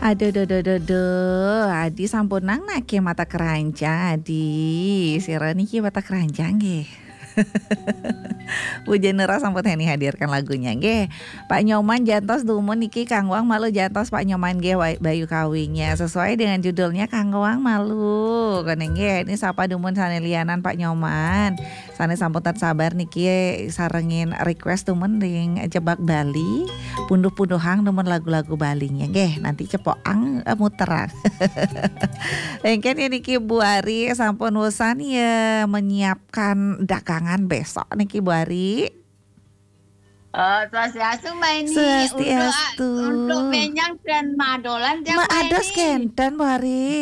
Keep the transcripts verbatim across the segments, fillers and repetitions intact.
Aduh, duh, duh, duh, duh. Adi sampun nang nake mata keranjang, Adi. Sira niki mata keranjang nggih. Bu Jenera sampun Heni hadirkan lagunya nggih. Pak Nyoman jantos dumun niki kanggoang malu jantos Pak Nyoman nggih, Wa-, Bayu Kawinya. Sesuai dengan judulnya kanggoang malu. Kene nggih, ini sapa dumun sane lianan Pak Nyoman. Sane sampun tan sabar niki sarengin request dumun ring Jebak Bali. Punduh-punduhang dumun lagu-lagu Balinya nggih. Nanti cepoang, eh, muterang. Engken ya niki Bu Ari sampun wusan ya menyiapkan dagangan besok niki Bu Ari. Eh, swastiastu, Mbak Eni. Swastiastu. Untuk, untuk menyang dan madolan tiap Mbak Mbak ados Eni. Kenten, Bu Ari.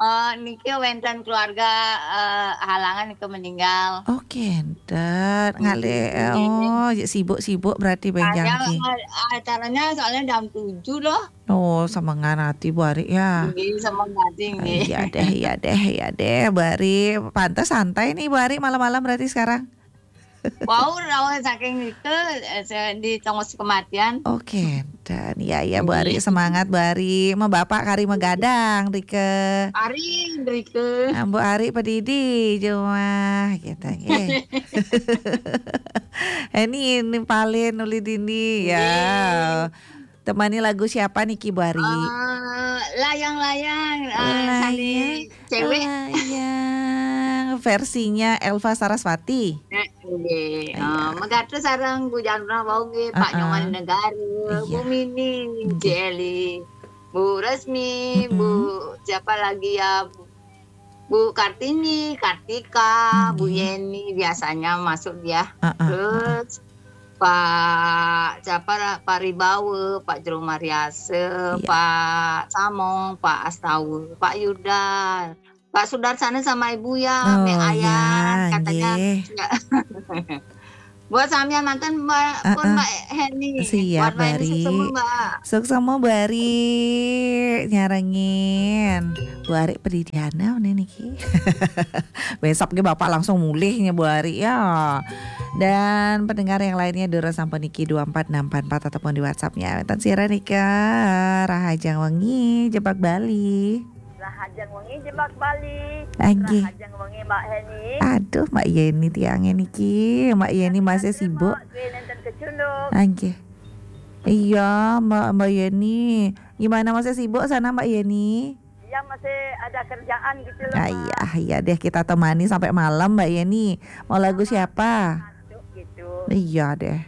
Eh, niki wenten keluarga, eh, halangan niki meninggal. Oh, kenten. Ngalih, nggih. Oh, ya sibuk-sibuk berarti benjang. Saya, eh, acaranya soalnya jam tujuh loh. Oh, semangat hati Bu Ari ya. Nggih, semangat hati, nggih. Iya deh, iya deh, iya deh, Bu Ari. Pantes santai nih Bu Ari malam-malam berarti sekarang. Wau, rawuh saking nike, eh, se-, di tongos kematian. Oke, dan ya, ya, Bu Ari, nggih. Semangat, Bu Ari. Ma bapak kari magadang, Rike. Ari, Rike. Ah, Bu Ari pedidi, jumah, gitu, nggih. Ini, ini paling nuli dini, ya. Nggih. Temani lagu siapa niki, Bu Ari? Eh, layang-layang, eh, sani cewek. Layang. Versinya Elva Sarasvati. Eh, nggih. Iya. Eh, megatu sareng Bu Janra wau nggih, Pak Heeh. Nyoman Negara, iya. Bu Mini, nggih. Jeli, Bu Resmi, mm-mm. Bu siapa lagi ya? Bu Kartini, Kartika, Bu Nggih. Yeni, biasanya masuk dia. Heeh, heeh. Terus Pak, siapa lah? Pak Ribawa, Pak Jero Mariasa, iya. Pak Samong, Pak Astawa, Pak Yuda, Pak Sudarsana sama Ibu ya, oh, Mek Ayan, iya, katanya nggih. Nggak. Buat sampean manten, Mbak, pun heeh. Mbak Heni. Siap, buat Mbak Heni, Bari. Suksema, Mbak. Suksema, Bari. Nyarengin. Bu Ari Pedidiana, ini niki. Besok ke Bapak langsung mulihnya, Bu Ari, ya. Dan pendengar yang lainnya, Dora sampai niki dua empat enam empat empat ataupun di WhatsApp-nya. Wenten sira nika, Rahajeng Wengi, Jebak Bali. Rahajeng Wengi Jebak Bali. Nggih. Rahajeng Wengi Mbak Heni. Aduh, Mbak Yeni tiangnya niki. Mbak Yeni masih sibuk. Mbak, nenten kecunduk. Nggih. Iya, Mbak, Mbak Yeni. Gimana, masih sibuk sana, Mbak Yeni? Iya, masih ada kerjaan gitu loh, ah, Mbak. Iya, iya deh, kita temani sampai malam, Mbak Yeni. Mau lagu siapa? Masuk gitu. Iya deh.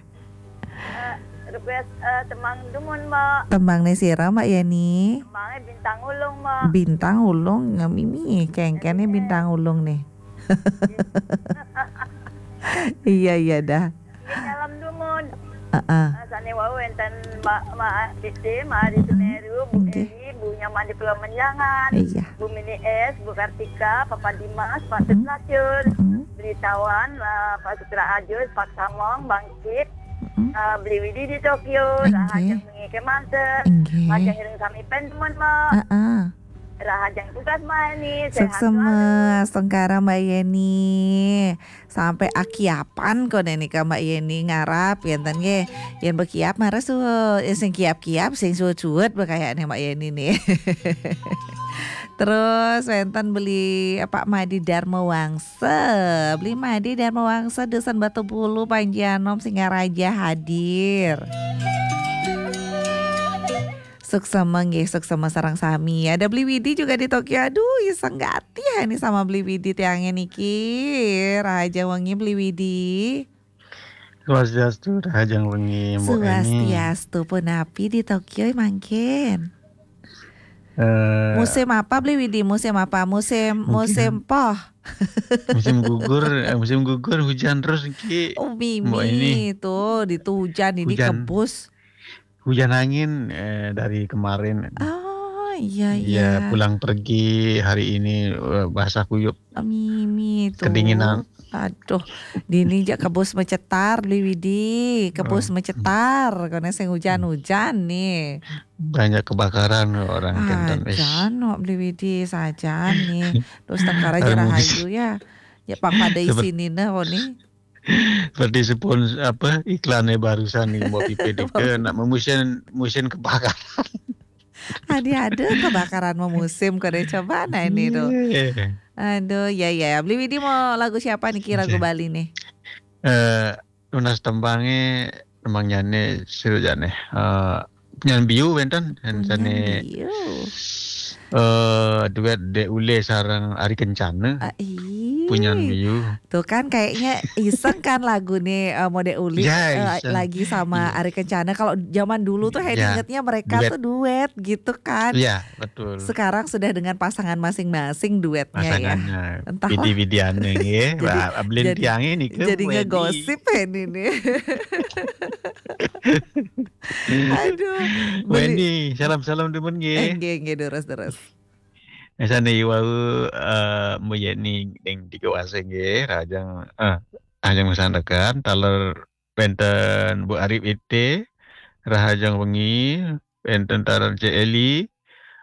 Eh, request, eh, tembang dumun, Mbak. Tembang nih sira, Mbak Yeni. Tembangnya Bintang Ulung, Mbak. Bintang Ulung, ngemimi, kengkennya Bintang Ulung nih. Iya, iya dah. Ini nyalam dumun. Heeh. Eh, sane wau wenten Mbak, Mbak Titi, Mbak Ari Semeru, Bu Nggih. Eli, Bu Nyaman di Pulau Menjangan, iya. Bu Mini S, Bu Kartika, Papa Dimas, Pak Sutlacur, mm-mm. Beli Tawan, eh, Pak Sutra Ajus, Pak Samong, Bangkit, mm-mm. Eh, Beli Widi di Tokyo, nggih. Rahajeng wengi kemanten, nggih. Rahajeng ireng sami pen temen, Mbak. Heeh. Rahajeng tugas, Mbak Yeni, sehat selalu. Suksema, astungkara Mbak Yeni. Sampai akiapan kok nika Mbak Yeni ngarap, ngenten nggih. Yen bekiap marah suwut, yen sing kiap-kiap, sing suwut-suwut bekayakne Mbak Yeni nih. Terus wenten beli, eh, Pak Madi Darma Wangsa. Beli Madi Darma Wangsa, Dusun Batu Bulu, Panji Anom, Singaraja hadir. Suksema nggih, suksema sareng sami. Ada Beli Widi juga di Tokyo. Aduh, iseng gati ya ini sama Beli Widi tiangnya niki. Rahajeng wengi Beli Widi. Swastiastu, rahajeng wengi, Mbok Eni. Swastiastu, punapi di Tokyo mangkin? Eh, musim apa, Beli Widi? Musim apa? Musim, mungkin musim poh. Musim gugur, eh, musim gugur, hujan terus niki, oh, Mbok Eni. Mimi tuh, di tuh hujan, ini hujan. Kebus. Hujan angin, eh, dari kemarin. Oh, iya, iya, iya. Pulang pergi hari ini, eh, basah kuyup. Mimi tuh. Kedinginan. Aduh, dini jak kebus mecetar, Beli Widi. Kebus, oh, mecetar, karena sing hujan-hujan nih. Banyak kebakaran orang kenten, wis. Ajan, Beli Widi, sajan nih. Terus tengkara aja rahayu ya. Ya, pang pada seperti isinina, kok nih. Seperti spons-, apa, iklannya barusan nih, Mbok Pipi dike, nak memusin, musin kebakaran. Tadi ada kebakaran memusim, kode coba nah ini tuh. Aduh, ya, ya. Beli Widi mau lagu siapa nih, kira lagu Bali nih? Eh, tunas tembangnya emang nyane seru jane. Eh, nyan biu wenten, sane eh duet Dek Ule sarang Ari Kencana. Ah, iya. Punyan biu. Tuh kan kayaknya iseng kan lagu nih, eh, Mode Uli, ya, eh, lagi sama ya. Ari Kencana. Kalau zaman dulu tuh ya. Ingetnya mereka duet. Tuh duet gitu kan. Iya, betul. Sekarang sudah dengan pasangan masing-masing duetnya ya. Entah. Bidi-bidian nih ya. Jadi, jadi ngegosip ini nih. Aduh. Wendy, salam-salam temen nggih. Nggih, nggih, terus terus. Misalnya iwau eh Mbak Yeni ding tiga wase nggih, rahajeng eh rahajeng masandekan, taler wenten Bu Arif Ite, rahajeng wengi, wenten taler Cek Eli,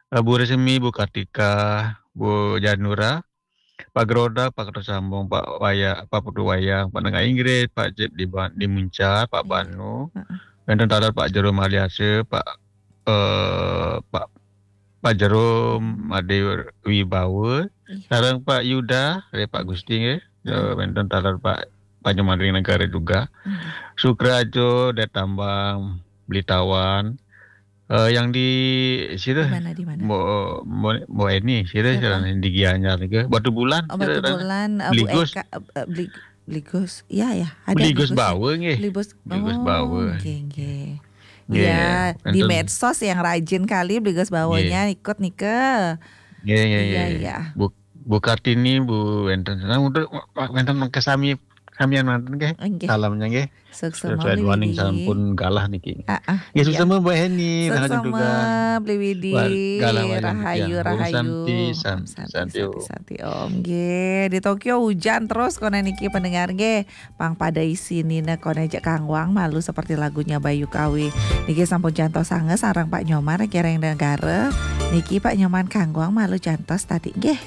eh, Bu Resmi, Bu Kartika, Bu Janura, Pak Geroda, Pak Kerto Sambung, Pak Waya, Pak Putu Wayang, Pak Nengah Inggris, Pak Cip di, di Muncar, Pak Banu, wenten taler Pak Jero Maliase, Pak eh Pak Pak Jero Made Wibawa, sareng Pak Yuda, dari Pak Gusti nggih. Eh, wenten taler Pak Pak Nyoman ring Negara juga. Sukrajo, Detambang, Blitawan. Eh, yang di sira Di mana, di mana? Mbok Mbok Mbok Eni, sira Siapa? Sira di Gianyar niku. Batu Bulan, Oh, Batu sira. Bulan, eh, Bu Bligus. Eka, eh, eh, Bli- Bligus. Iya, ya, ada Bligus Bligus. Bawa nggih. Bligus. Bligus Oh, Bawa. nggih, nggih. Nggih, Ya, di wenten. Medsos yang rajin kali Bligus Bawanya ikut nih ke. Nggih, nggih, Iya, nggih. iya. Bu Bu Kartini, Bu wenten. Nah, untuk wenten kesami samian manten nggih. Nggih. Salamnya nggih. Suksema Sesuai Bli duaning Widi. Sampun galah niki. Ah, ah, Nggih, iya. Suksema Bu Heni, nah Suksema juga. Bli Widi. Wah, galah wayang Rahayu, niki, ya. Om rahayu. Santi, San- Om Santi, Santi, Santi, Om. Santi, Om. Nggih, di Tokyo hujan terus kono niki pendengar nggih. Pang pada isinine kono aja kangwang malu seperti lagunya Bayu Kawi. Niki sampun jantos sanget sareng Pak Nyoman kireng negara. Niki Pak Nyoman kangwang malu jantos tadi nggih.